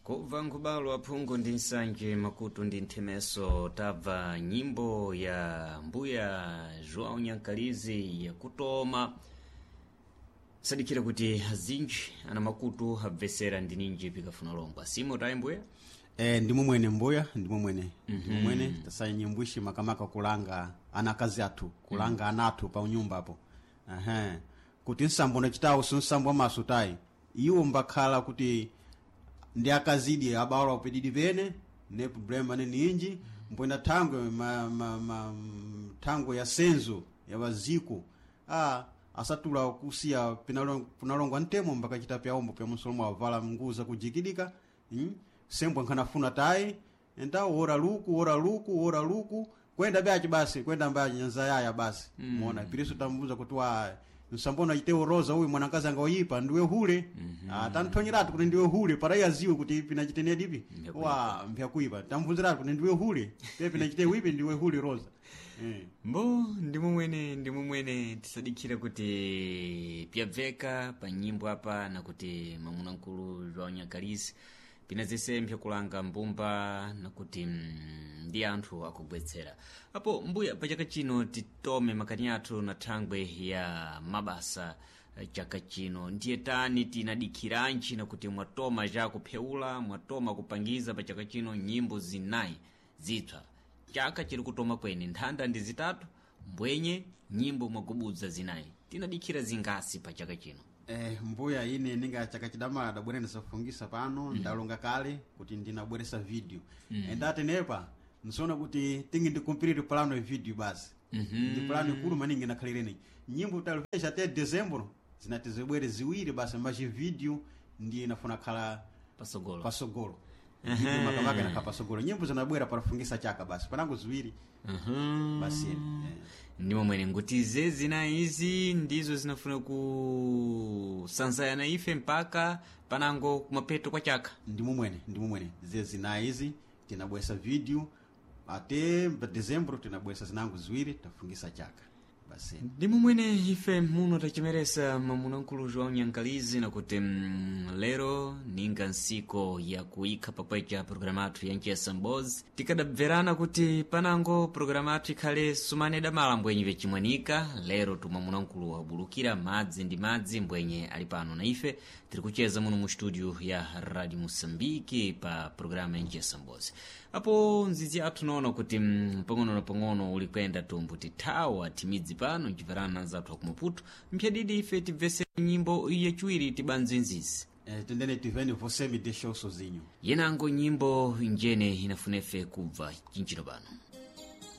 Kubva nkubalo aphungu ndi nsanje, makutu ndi nthemeso, tabva nyimbo ya mbuya João Nyankalizi yakutoma. Sadikira kuti azinji ana makutu abvesera ndi ninji pikafuna longwa simo tayi mbuya. Ndimumwene mbuya, ndimumwene, ndimumwene. Tasaya nyimbo makamaka kulanga anakazi athu, kulanga ana athu pa unyumbapo. Ehe, kuti nsambo nachitawo si nsambo wamaso tayi. Iwo mbakhala kuti ndi akazidi abawala pedidi pene ne problema ane ninji mpwenda thangwe thangwe ya senzo ya waziko asatula kusiya pinalongwa ntemo mbakachita pyaombo pya musolomo avala nguza kujikidika, Sembwa nkhanafuna tayi enta wora luku, wora luku, wora luku, kwenda byachi basi, kwenda mbachi nyanza yaya basi. Mona piriso tambuza kuti wa msambona chitewo roza uyu mwanakazi anga oyipa ndiwe hule. Tanthonyeratu kuti ndiwe hule para yaziwe kuti pinachitene dipi. Mpyakuipa. Wa mpyakuipa tamvunziratu kuti ndiwe hule pe pinachitewo ipi ndiwe hule roza. Mbo ndimumwene, ndimumwene. Tisadikira kuti pyabveka pa nyimbo apa nakuti mwamuna mkulu João Nyakalisi pina zise mpyakulanga mbumba nakuti ndi anthu akugwetsera apo. Mbuya, pa chaka chino titome makani athu na thangwe ya mabasa. Chaka chino ndiye tani tinadikhiranji nakuti mwatoma chakupheula, mwatoma kupangiza pa chaka chino nyimbo zinayi zitswa? Chaka chiri kutoma kwene, nthanda ndi zitatu, mbwenye nyimbo mwagubudza zinayi. Tinadikhira zingasi pa chaka chino? Mbuya, ine ninga chaka chidamala dabwera ndisafungisa pano. Ndalonga kale kuti ndinabweresa video. Endati nepa nsoona kuti tingi ndikumpirire plano ya video basi. Ndi plano ikulu maningi nakhalireni nyimbo talipesha te dezembro zinati zibwere ziwiri basi machi video ndiye inafuna khala pasogolo. Pasogolo. Video makamaka inakhala pasogolo, nyimbo zinabwera palafungisa chaka basi panango ziwiri basi. Ndimo mwene nguti ze zinayi izi ndizo zinafuna kusanzayana ife mpaka panango kumapeto kwa chaka. Ndimumwene, ndimumwene. Ze zinayi izi tinabwesa video ate pa dezembro tinabwesa zinango ziwiri tafungisa chaka basi. Ndimo mwene ife muno tachimeresa mwamuna mkulu João Nyankalizi nakuti lero ninga nsiko ya kuikha pakwecha programu athu ya Nchesa Mbozi. Tikadabverana kuti panango programu athu ikhale sumane damala mbwenye vyachimwanika. Lero tumwamuna mkulu wabulukira madzi ndi madzi mbwenye ali pano na ife tiri kucheza muno mu studio ya Radio Moçambique pa programu ya Nchesa Mbozi. Apo nzizi athu noona kuti pang'ono na pang'ono uli kuyenda tumbu tithawa timidzi pano nchimverana anzathu akumaputo mphyadidi. Ife tibvese nyimbo yachiwiri tibanze nzizi. Tendene tiveni "Você Me Deixou Sozinho". Yenango nyimbo njene inafunefe kubva chinchino pano.